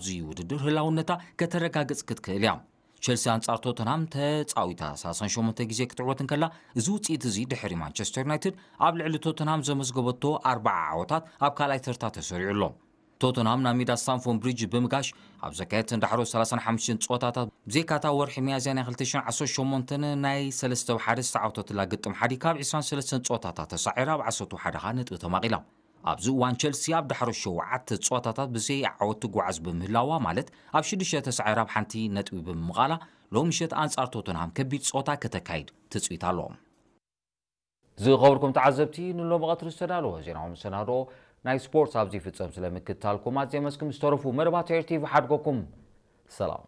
እዚ ውድድር ህላውነታ ከተረጋግጽ ክትክእል እያ። ቸልሲ ኣንጻር ቶተንሃም ተጻዊታ ሰላሳ ሸሞንተ ግዜ ክትዕወት እንከላ፣ እዚ ውጽኢት እዚ ድሕሪ ማንቸስተር ዩናይትድ ኣብ ልዕሊ ቶተንሃም ዘመዝገበቶ ኣርባዓ ዓወታት ኣብ ካልኣይ ተርታ ተሰሪዑ ኣሎ። ቶተንሃም ናብ ሜዳ ስታንፎርድ ብሪጅ ብምጋሽ ኣብ ዘካየደተን ዳሕሮ ሰላሳን ሓሙሽተን ጸወታታት፣ ብዘይካታ ወርሒ ሚያዝያ ናይ ክልተ ሽሕን ዓሰርተ ሸሞንተን ናይ ሰለስተ ብሓደ ዝተዓወተትላ ግጥም ሓዲጋ ኣብ ዕስራን ሰለስተን ጸወታታት ተሳዒራ ኣብ ዓሰርተ ብሓደ ነጥቢ ተማቒላ። ኣብዚ እዋን ቸልሲ ኣብ ዳሕሮ ሸውዓተ ጸወታታት ብዘይ ዓወት ትጓዓዝ ብምህላዋ፣ ማለት ኣብ ሽዱሽተ ተሳዒራ ኣብ ሓንቲ ነጥቢ ብምምቓላ፣ ሎሚ ምሸት ኣንጻር ቶተንሃም ከቢድ ጸወታ ከተካይድ ትጽቢት ኣሎ። ዝኸበርኩም ተዓዘብቲ፣ ንሎሚ ቀትሪ ዝተዳለወ ዜናዊ መሰናድኦ ናይ ስፖርት ኣብዚ ይፍጸም። ስለ ምክትታልኩም ኣዝየ መስግን። ዝተረፉ መደባት ኤር ቲቪ ሓድጎኩም። ሰላም።